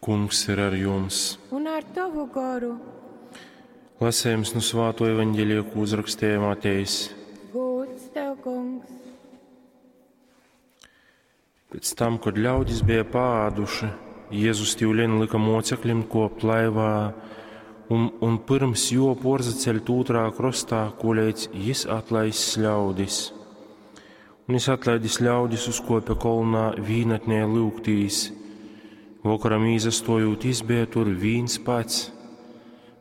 Kungs ir ar jums. Un ar tovu goru. Lasējums nu Svāto evaņģelija, ko uzrakstīja Matejs. Gūds tev, kungs. Pēc tam, kad ļaudis bija paāduši, Jēzus tīvlien lika mocekļiem kopt laivā un, un pirms jo porzaceļt ūtrā krostā, koleidz jis atlaiss ļaudis. Un jis atlaidis ļaudis uzkopja kolnā vīnatnē lūgtīs. Vokaram īzastojūt, jis bija tur vīns pats,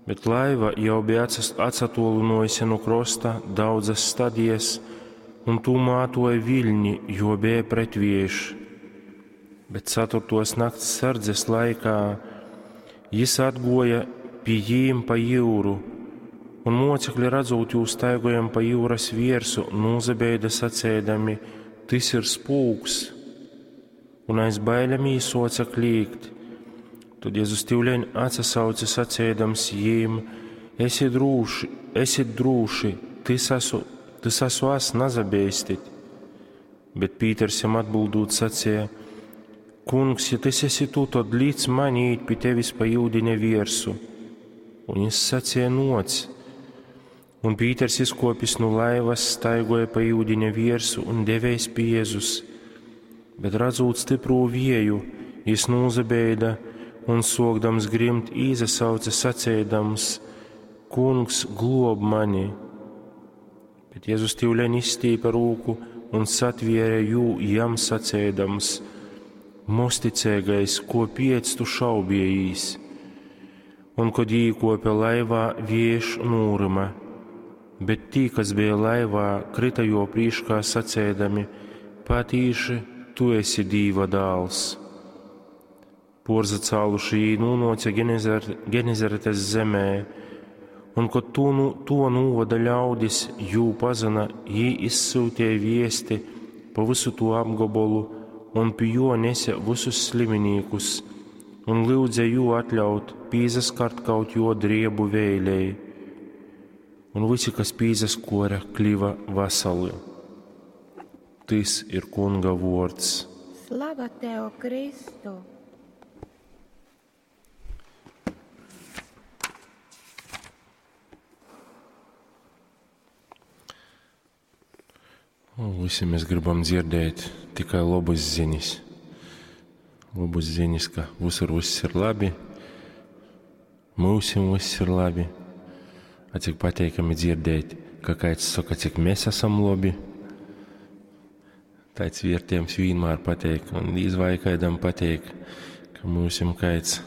bet laiva jau bija atsatolinojusi no krosta daudzas stadijas, un tū mātoja viļņi, jo bija pretvējš. Bet ceturtos nakts sardzes laikā jis atgoja pie jīm pa jūru, un mocekļi redzot jū staigojam pa jūras viersu, nūzabeida sacēdami, tis ir spūks, un aiz bailēm īsoca klīgt. Tad Jēzus tīvleņ atsasauca sacēdams jīm, esi drūši, esit drūši, tis esmu, tis esmu es, nazabeistit. Bet Pīters jam atbildūt sacīja, Kungs, ja tas esi tu, tad lic man īt pie tevis pa jūdiņa viersu. Un jis sacīja, noc. Un Pīters izkopis no laivas, staigoja pa jūdiņa viersu un devēs pie Jēzus. Bet redzot stiprū vieju, jis nūzabeida un sokdams grimt īzasauca sacēdams, Kungs, glob mani! Bet Jēzus tīvleņ izstīpa rūku un satviere jū jam sacēdams, Mosticēgais, ko piec tu šaubiejīs? Un, kad īkopja laivā, vieš nūrima, bet tī, kas bija laivā, krita jo prīškā sacēdami, patīši, tu esi Dīva dāls. Porzacāluši jī nūnoca Genezaretes zemē, un, kad to, nu, to nūvada ļaudis, jū pazina, jī izsūtīja viesti pa visu to apgabolu un pie jo nese visus sliminīkus, un lūdza jū atļaut pīzaskart kaut jo driebu vēlēji. Un visi, kas pīzaskora, kļuva vasali. Tis ir kunga vords. Slava tev, Kristu! Un visi mēs gribam dzirdēt tikai labas ziņas. Labas ziņas, ka visur viss ir labi, mūsim viss ir labi. A cik pateikami dzirdēt, ka kāds saka, cik mēs esam labi. Tāds vērtējums vienmēr pateik, un izvaikaidam pateik, ka mūsim kāds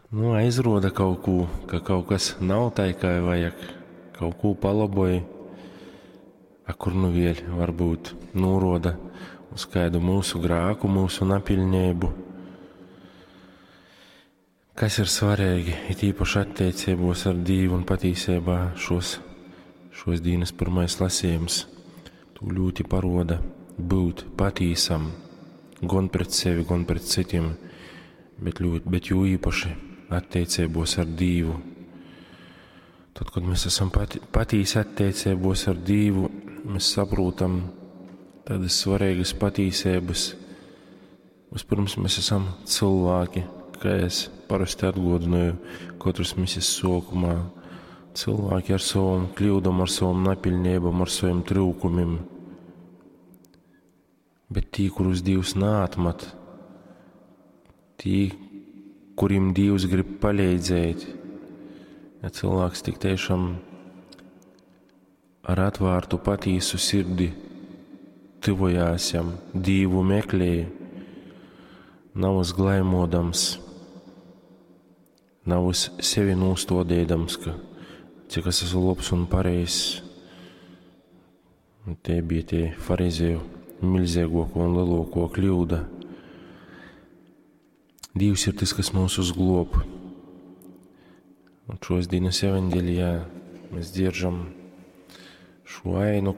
nu, aizroda kaut ko, ka kaut kas nav tā, kā vajag, kaut ko palaboja. A kur nu vēļ varbūt nūroda uz kādu mūsu grāku, mūsu napilnību. Kas ir svarīgi, it īpaši attiecībos ar Dievu un patīsībā šos, šos dienas pirmais lasījums, tu ļoti paroda būt patīsam gan pret sevi, gan pret citiem, bet, ļoti, bet jo īpaši attiecībos ar Dievu. Tad, kad mēs esam pati, patīsi attiecībos ar Dievu, mēs saprotam tādas svarīgas patīsības. Vispirms mēs esam cilvēki, kā es parasti atgodināju katras misijas sākumā. Cilvēki ar savam kļūdām, ar savam napilnībām, ar saviem trūkumiem. Bet tī, kurus Dievs neatmet, tī, kuriem Dievs grib palīdzēt, ja cilvēks tik tiešām ar atvērtu patīsu sirdi tuvojās jam, Dievu meklē, nav uzglaimodams, nav uz sevi nūstodēdams, ka cik es esmu labs un pareizs. Un tie bija tie farizēju milzīgāko un lielāko kļūda. Dievs ir tas, kas mūs uzglob. Un šos dienas evaņģēlijā mēs dzirdam šo ainu,